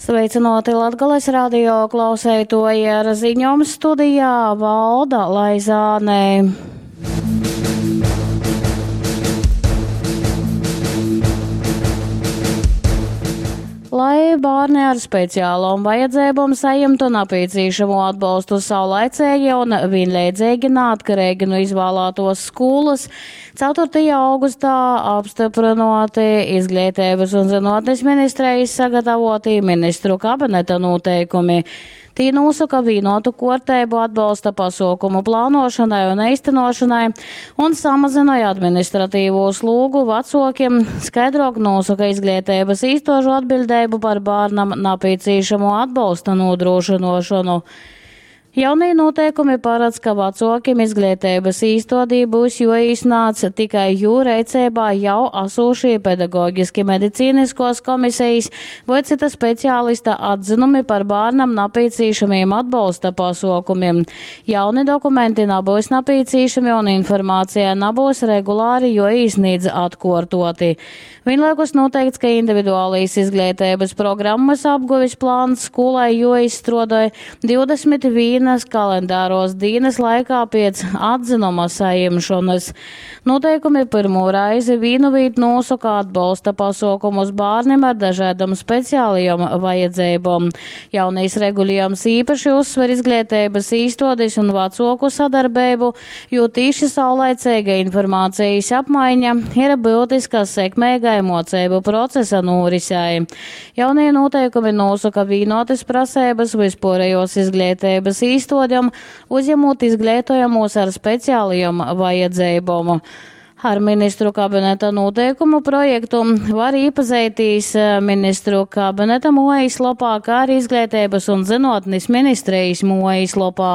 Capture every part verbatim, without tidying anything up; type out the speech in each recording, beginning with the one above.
Sveicināti Latgales radio klauseitoji ar ziņom studijā Valda Laizāne. Lai bērni ar speciālām vajadzībām saņemtu nepieciešamo atbalstu saulaicīgi un vienlīdzīgi neatkarīgi no izvēlētos skolas, ceturtajā augustā apstiprinoti Izglītības un zinātnes ministrijas sagatavoti ministru kabineta noteikumi. Tī nosaka vienotu kārtību atbalsta pasaukumu plānošanai un īstenošanai un samazināja administratīvo slogu vecākiem, skaidrāk nosaka izglītības īstožu atbildību par bērnam nepieciešamo atbalsta nodrošināšanu. Jaunie noteikumi paredz, ka vecākiem izglītības īstodī būs joīsnāts tikai jū reicībā jau esošie pedagoģiski medicīniskos komisijas vai cita speciālista atzinumi par bērnam nepieciešamiem atbalsta pasaukumiem. Jauni dokumenti nebūs nepieciešami un informācija nebūs regulāri joīsnīdz atkārtoti. Vienlaikus noteikts, ka individuālīs izglītības programmas apguvis plāns skolai joizstrādāja divdesmit vienas kalendāros dienas laikā pēc atzinuma saņemšanas. Noteikumi pirmo reizi vienu vītu nosaka atbalsta pasaukumus bērniem ar dažādām speciālajām vajadzībām. Jaunais regulējums īpaši uzsver izglītības īstodes un vecāku sadarbību, jo tīši saulaicīga informācijas apmaiņa ir būtiska sekmīgai mocību procesa norisei. Jaunie noteikumi nosaka vienotas prasības vispārējos izglītības īstodēm, uzņemot izglītojamos ar speciālajām vajadzībām. Ar ministru kabineta noteikumu projektu var iepazīties ministru kabineta mājaslapā, kā arī Izglītības un zinātnes ministrijas mājaslapā.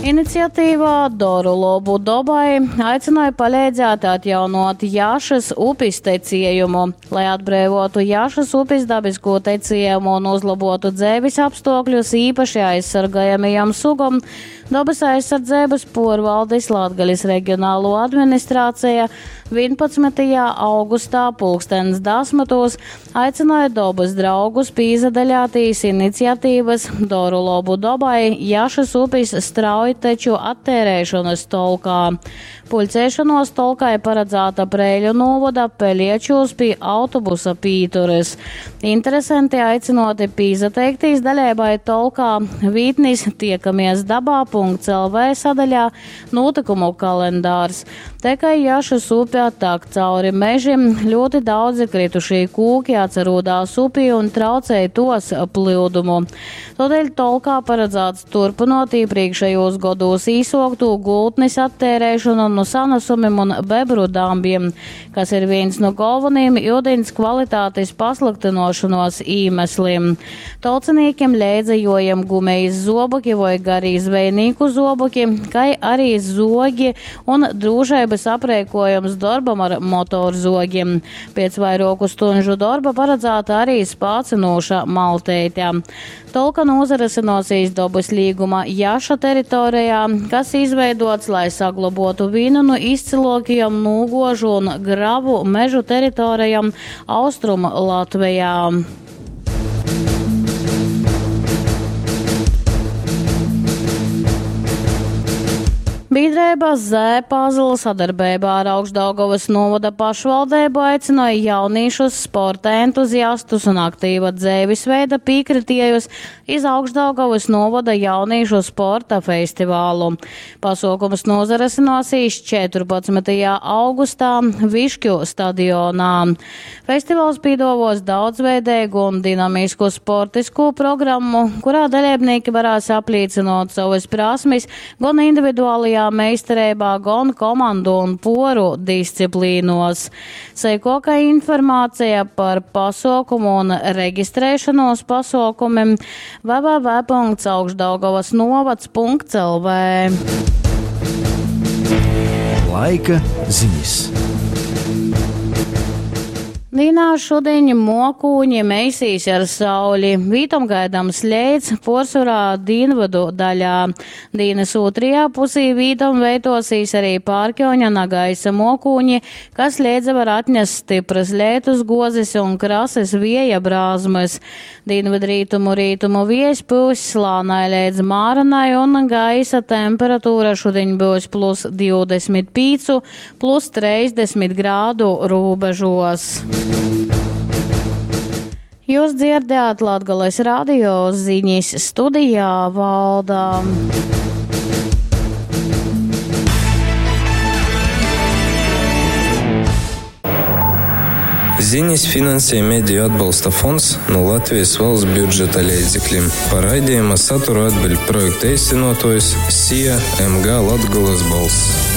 Iniciatīvā Doru lobu dobai aicināja palīdzēt atjaunot Jašas upes tecējumu, lai atbrīvotu Jašas upes dabisko tecējumu un uzlabotu dzīves apstākļus īpaši aizsargājamajam sugam. Dabas aizsardzības porvaldes Latgales reģionālo administrācija vienpadsmitajā augustā pulkstens desmitos aicināja dabas draugus pīzadaļātīs iniciatīvas Doru lobu dobai Jašas upes straujteču attērēšanas tolkā. Pulcēšanos tolkai paredzēta Preiļu novada Peliečos pie autobusa pītures. Interesanti aicinoti pīzateiktīs daļēbai tolkā vītnis tiekamies dabā punkts L V sadaļā notikumu kalendārs. Te, ka Jašas upē tak cauri mežim, ļoti daudzi kritušie kūki atcerūdās upī un traucēja tos plūdumu. Tādēļ tolkā paredzēts turpinot iepriekšējos gados īsoktu gultnes attērēšanu no sanesumiem un bebru dambiem, kas ir viens no galvenajiem ūdens kvalitātes pasliktinošanos iemesliem. Tolciniekiem leidzajojam gumijas zoboki vai garī zvejnieku zoboki, kai arī zogi un drūšības aprēkojums darbam ar motorzogiem. Pēc vairāku stunžu darba paredzēta arī spācinoša malteite. Tolka nozarasinosīs dabas līguma Jaša teritorijā, kas izveidots, lai saglabotu vienu no izcilākajiem nūgožu un gravu mežu teritorijām Austrum Latvijā. Biedrība Z-Puzzle sadarbībā ar Augšdaugavas novada pašvaldību aicināja jauniešus, sporta entuziastus un aktīva dzīvesveida piekritējus iz Augšdaugavas novada jauniešu sporta festivālu. Pasaukums nozaresināsies četrpadsmitajā augustā Višķu stadionā. Festivāls piedāvos daudzveidīgu un dinamisku sportisku programmu, kurā dalībnieki varēs apliecinot savas prasmes gan individuālajā meistarībā, gan komandu un poru disciplīnos. Seikoka informācija par pasaukumu un reģistrēšanos pasaukumiem w w w punkts augšdaugavas novads punkts L V. Laika ziņas. Dīnā šudiņ muokūņi meisīs ar sauli, vītom gaidams leits, puorsvorā dīnvydu daļā. Dīnys ūtrajā pusī vītom veiduosīs arī pārkiuņa nagaisa muokūņi, kas leidza var atnest styprys leitus guozis un krasys vieja brāzmys. Dīnvydrītumu rītumu viejs pyuss lānai leidz māranai un gaisa temperatūra šudiņ byus plus divdesmit pīcu, plus treisdesmit grādu rūbežos. Jūs dzirdējāt Latgales radio ziņas studijā Valda. Ziņas finansē Mediju atbalsta fonds no Latvijas valsts budžeta leidzekļiem. Par raidījuma saturu atbild projekta īstenotojs S I A M G Latgolas balss.